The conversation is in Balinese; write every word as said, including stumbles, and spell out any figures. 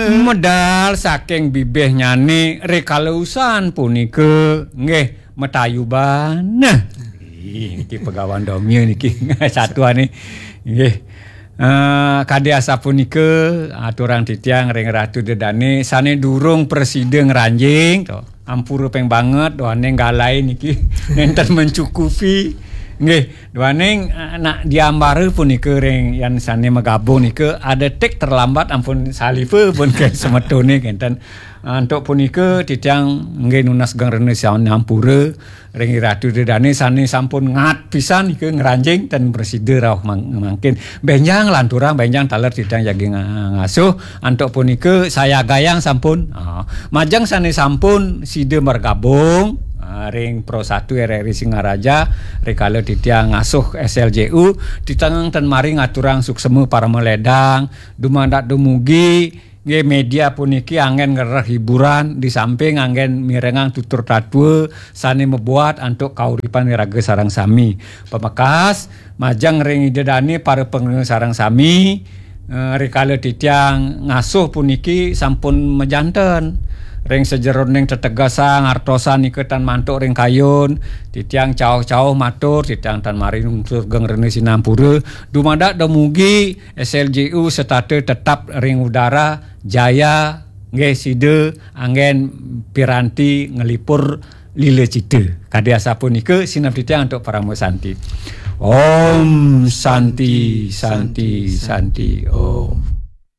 Medal saking bibihnyané rikala usan punika nggih matayuban. Nah. Ih, niki pegawan domia niki satuané. Nggih. Eh, kadi asapunika aturang titiang ring Ratu Ida Dané sané durung prasida ngranjing to. Ampura ping banget duaning galai niki nénten mencukupi. Nggih, duaning eh, nak diambara punika ring yan sané magabung nika ada tik terlambat ampun salipa pun ke semetoné kénten. Antuk punika titiang nggih nunas geng rena sané ampura ring Ratu Ida Dané sané sampun ngat pisan nika ngranjing ten prasida rauh mang- mangkin. Bénjang lanturang bénjang taler titiang jagi nga- ngasuh. Antuk punika sayagayang sampun. Ah, majeng sané sampun sida margabung ah, ring Pro Satu R R I Singaraja rikala titiang ngasuh S L J U, titiang ten mari ngaturang suksema paramaledang, dumadak dumugi nggih media puniki anggén ngrereh hiburan di samping anggén mirengang tutur tatua sané mabuat antuk kauripan iraga sareng sami. Pamekas majeng ring Ida Dané para pangrena sareng sami eh, rikala titiang ngasuh puniki sampun majanten. Ring sajeroning tetegesan artosan nika tan mantuk ring kayun, titiang cauh-cauh matur, titiang tan mari nunas geng rena sinampura, dumadak dumugi S L J U setata tetap ring udara jaya nggih sida anggén piranti nglipur lila cita. Kadi asapunika sineb titiang antuk parama santi. Om Santi, Santi, Santi, Om.